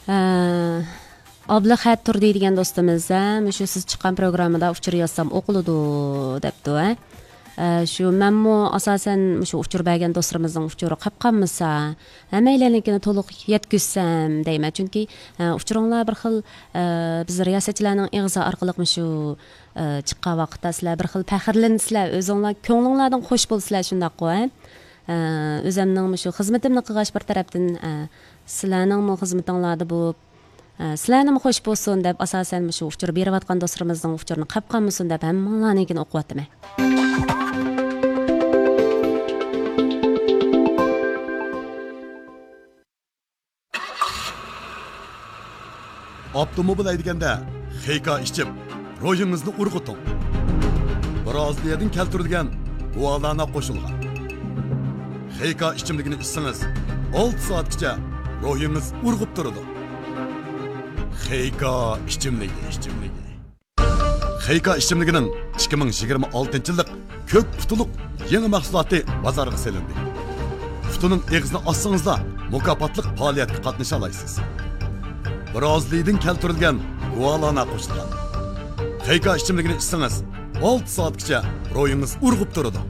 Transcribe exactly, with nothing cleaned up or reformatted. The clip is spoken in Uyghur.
ئە، ئابلىخەت تۇردى دېگەن دوستىمىز، ھە، مۇشۇ سىز چىققان پروگراممىدا ئۇچۇر يازسام ئوقۇلىدۇ دەپتۇ، ھە. ئە، شۇ مەنمۇ ئاساسەن مۇشۇ ئۇچۇر بەرگەن دوستلىرىمىزنىڭ ئۇچۇرى قاپ قالمىسا، ھەممەيلەننىڭكىنى تولۇق يەتكۈزسەم دەيمەن. چۈنكى، ئە، ئۇچۇرۇڭلار بىر خىل، ئە، بىز رىياسەتچىلەرنىڭ ئېغىزى ئارقىلىق مۇشۇ، ئە، چىققان ۋاقىتتا سىلەر بىر خىل پەخىرلىنىسىلەر، ئۆزۈڭلار كۆڭلۈڭلاردىن خوش بولىسىلەر، شۇنداققۇ، ھە؟ ئە، ئۆزەمنىڭ مۇشۇ خىزمىتىمنى قىلغاچ بىر تەرەپتىن، ئە، سىلەرنىڭمۇ خىزمىتىڭلاردا بولۇپ، ئە، سىلەرنىمۇ خوش بولسۇن دەپ، ئاساسەن مۇشۇ ئۇچۇر بېرىۋاتقان دوستلىرىمىزنىڭ ئۇچۇرىنى قاپ قالمىسۇن دەپ ھەممىڭلارنىڭكىنى ئوقۇۋاتىمەن. ئاپتوموبىل ھەيدىگەندە خېيكا ئىچىم، روھىڭىزنى ئۇرغۇتۇڭ. برازىلىيەدىن كەلتۈرۈلگەن گۇالانا قوشۇلغان خېيكا ئىچىملىكىنى ئىچسىڭىز، ئالتە سائەتكىچە روھىڭىز ئۇرغۇپ تۇرىدۇ. خېيكا ئىچىملىكى، ئىچىملىكى. خېيكا ئىچىملىكىنىڭ ئىككى مىڭ يىگىرمە ئالتىنچى يىللىق كۆك پۇتىلىق يېڭى مەھسۇلاتى بازارغا سېلىندى. پۇتىنىڭ ئېغىزىنى ئاچسىڭىزلا، مۇكاپاتلىق پائالىيەتكە قاتنىشالايسىز. برازىلىيىدىن كەلتۈرۈلگەن گۇالانا قوشۇلغان خېيكا ئىچىملىكىنى ئىچسىڭىز، ئالتە سائەتكىچە روھىڭىز ئۇرغۇپ تۇرىدۇ.